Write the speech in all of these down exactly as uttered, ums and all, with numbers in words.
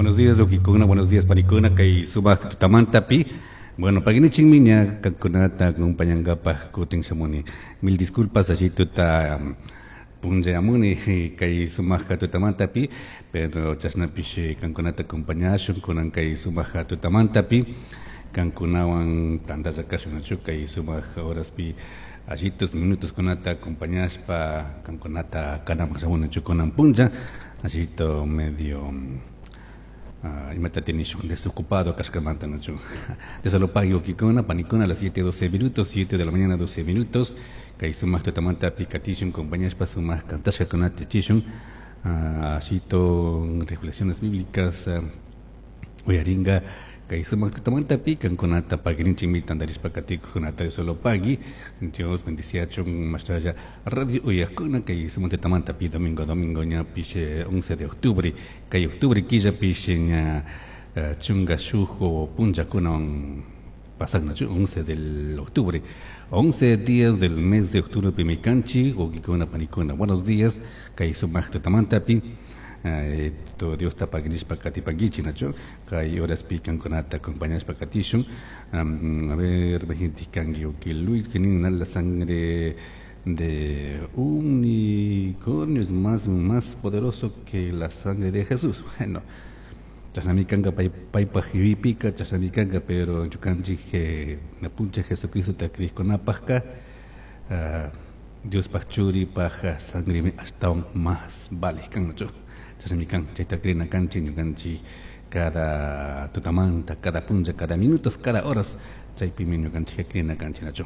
Buenos días, wawkikuna, buenos días, panikuna, kay sumak tutamantapi. Bueno, paginichikmi ña kankunata acompañankapaj kutin shamuni. Mil disculpas, ashituta um, punllayamuni kay sumak tutamantapi, pero chashnapish kankunata acompañashun kunan kay sumak tutamantapi. Kankunawan tantalla kashun nachu kay sumak horaspi ashitos minutos kunata acompañashpa kankunata kanaman shamuni kunan punlla ashito medio uh, imata tinishun desocupado kashkamanta nachu. Dios lo pague wawkikuna panikuna a las siete doce minutos, siete de la mañana doce minutos, kay sumak tutamanta katishun acompañashpa sumak kantashkakunata yachishun uh, ashito reflexiones bíblicas uh, uyaringa kay sumak tutamantapi kankunata pagirinchikmi tantarishpa katikuqkunata Dios lo pagui. Dios bendiciachun mashtalla radio uyaqkuna kay sumak tutamantapi domingo domingo ñapish once de octubre kay octubre killapish ña uh, chunka shuk punllakunawan pasaknachu once del octubre, once días del mes de octubre pimi kanchik wawkikuna panikuna. Buenos días kay sumak tutamantapi. Uh, to Dios ta paginishpa katipankichik nachu kay horaspi kankunata acompañashpa katishun. um, a ver, kanki wawki Luis que la sangre de unicornio es más, más poderoso que la sangre de Jesús. Bueno, chashnami kanka paypaj yuyaypika chashnami kanka, pero ñukanchik apunchik Jesucristo kriqkunapajka uh, Diospaj churipaj sangre ashtawan más vale kan nachu. Chashnami kan chayta crina kanchik ñukanchik cada tutamanta, cada punlla, cada minutos, cada horas chaypimi ñukanchik crina kanchik nachu.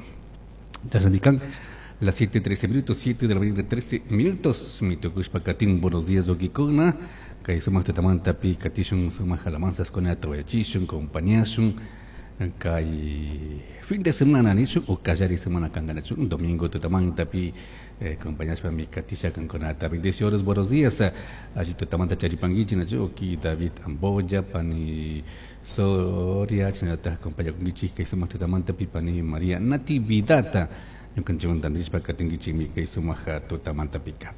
Chashnami kan las siete trece minutos, siete de la mañana trece minutos, mi tukushpa katin. Buenos días, wawkikuna, kay sumak tutamantapi katishun sumak alabanzaskunata uyachishun compañashun kay fin de semana nishun o kallari semana kanka nachu domingo tutamantapi eh, acompañashpami katisha kankunata. Bendiciones, buenos días allí tutamanta charipanguichi nachu wawki David Amboya pani Soria chashnallata acompañakunkichik kay sumak tutamantapi pani María Natividad ñukanchikwan tantarishpa katinkichikmi kay sumak tutamantapika.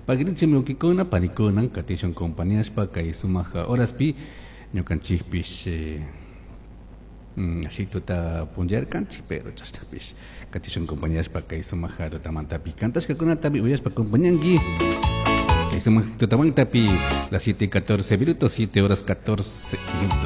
Paginichikmi wawkikuna panikuna katishun compañashpa kay sumak horaspi ñukanchikpish eh, mm, ashituta punllarkanchik pero chashnapish katishun compañashpa kay sumak tutamantapi kantashkakunatapi uyashpa acompañanki kay sumak tutamantapi las siete catorce minutos, siete horas catorce minutos.